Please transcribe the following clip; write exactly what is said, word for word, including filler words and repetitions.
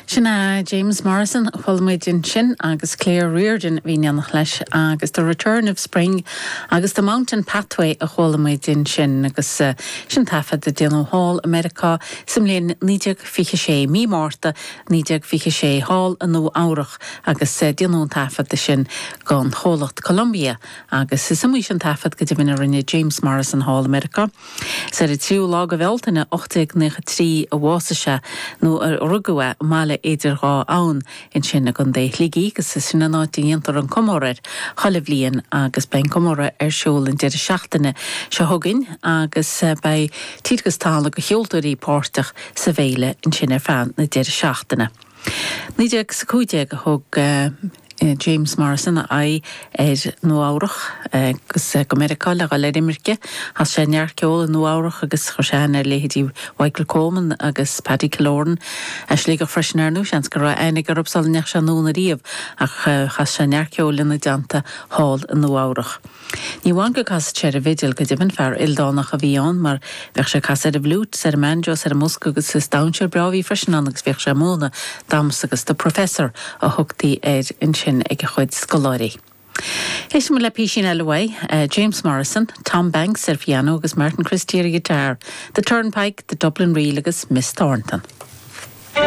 Sin é James Morrison chuala muid ansin agus Claire Reardon bhí in éineacht leis agus The Return of Spring agus The Mountain Pathway a chuala muid ansin agus uh, sin taifead a déanadh thall i Meiriceá sa mbliain naoi déag fiche sé mí Márta naoi déag fiche sé thall i Nua Eabhrac agus uh, déanadh an taifead sin don chomhlacht Columbia agus is iomaí sin taifead go deimhin a rinne James Morrison thall i Meiriceá. Is ar an tríú lá de Bhealtaine ocht déag nócha trí a bhásaigh sé nó a rugadh é i mBaile Idir Dhá Abhainn ansin i gContae Shligigh agus is sin an áit a ndéantar an comóradh chuile bhliain agus beidh an comóradh ar siúl an deireadh seachtaine seo chugainn agus eh, beidh tír agus talamh de cheoltóirí páirteach sa bhféile ansin ar feadh na deireadh seachtaine. Naoi déag is a cúig déag a thug uh, James Morrison a aghaidh ar Nua Eabhrac agus go Meiriceá le dhul ar imirce, Chas sé neart ceoil i Nua Eabhrac agus chuir sé aithne ar leithéidí Michael Coleman agus Paddy Killoran as Sligeach freisin ar ndóigh seans go raibh aithne orthu sula ndeachaigh sé anonn ariamh ach chas sé neart ceoil ina dteannta thall i Nua Eabhrac. Ní amháin go gcasadh sé ar an bhfidil go deimhin fear ildánach a bhí ann mar bheadh sé ag casadh ar an bhfliúit, ar an mbanjo, ar an mbosca agus is damhsóir breá a bhí freisin ann agus bhíodh sé ag múineadh damhsa agus the professor a thugtaí air ansin ag a chuid scoláirí. Éistfidh muid le písín eile uaidh, uh, James Morrison, Tom Banks ar piano agus Martin Christie ar guitar, The Turnpike, The Dublin Reel agus Miss Thornton.